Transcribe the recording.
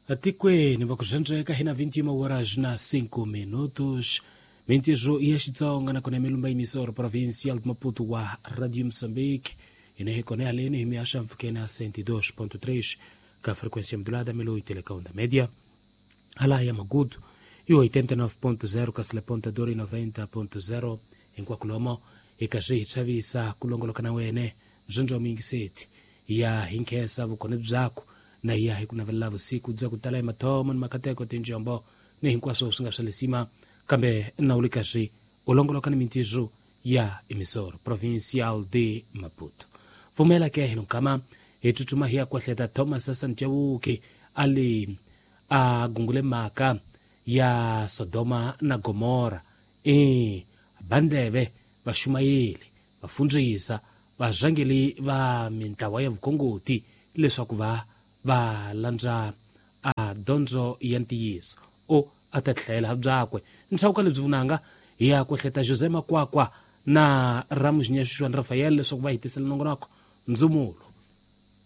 Atikweni vakuzendzeka hina 21 horas na 5 minutos. Mintirho ya Xitsonga nakona milumba emissora provincial de Maputo wa Radio Moçambique ine hi kona haleni hi mihaxa mpfhukeni a 102.3 ka frequência modulada melo telecom da média hala ya Magudu i 89.0 kasi Lepontador i 90.0. Hinkwako lomo hi ka swi hi chavisa ku longoloka na wene byondzo mingiseti ya hi nkhensa vukona byakho na ya hi ku navelela vusiku bya ku tala hi mathomo ni makateko, tinjombo ni hinkwaswo swi nga swa lisima, kambe na u le ka swi u longoloka ni mintirho ya emissora provincial de Maputo. Pfumela ke hi lonkama hi tsutsuma hi ya kwahleta Thomas Sanchewuki a li a gungule mhaka ya Sodoma na Gomora. E bandleve vaxumayeli, vafundzisa, varhangeli va mintlawa ya vukhongoti leswaku va va landza a dyondzo ya ntiyiso o a ta tlhela byakwe nchauka lebyi vunanga. Hi ya ku hleta José Makwakwa na Ramuxinya Xuxuani Rafael leswaku va hi tisela nongonoko ndzumulo.